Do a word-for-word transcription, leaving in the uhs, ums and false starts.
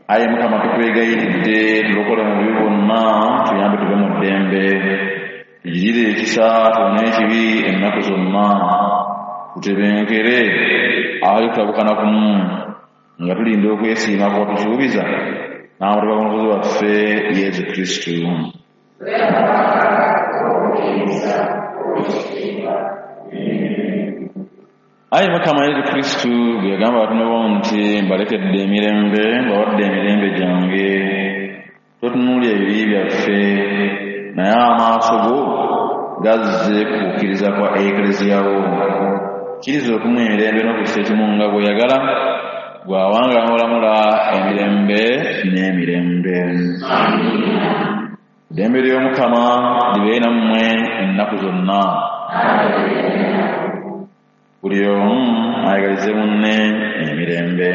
Ayi Mukama, tukwegayiridde tulokole mu bubi bwonna, tuyambe tuve mu ddembe, tugirire ekisa tuwone ekibi ennaku zonna, tutebenkere awali kutabukana kumu, nga tulinda okwesiima kw'otusuubiza n'amatuba g'Omulokozi waffe Yesu Kristu. Ayi Mukama Yesu Kristu, bwe yagamba abatume bo nti, mbalekedde emirembe, mbawadde emirembe gyange, totunuulira ebibi byaffe, naye amaaso go gazze ku kukkiriza kwa Ekleziya wo. Kkiriza okumuwa emirembe n'okussa ekimu nga bw'oyagala, bw'awanga n'olamula emirembe n'emirembe. Eddembe ly'Omukama libeere nammwe ennaku zonna. Buli omu ayagalize munne emirembe.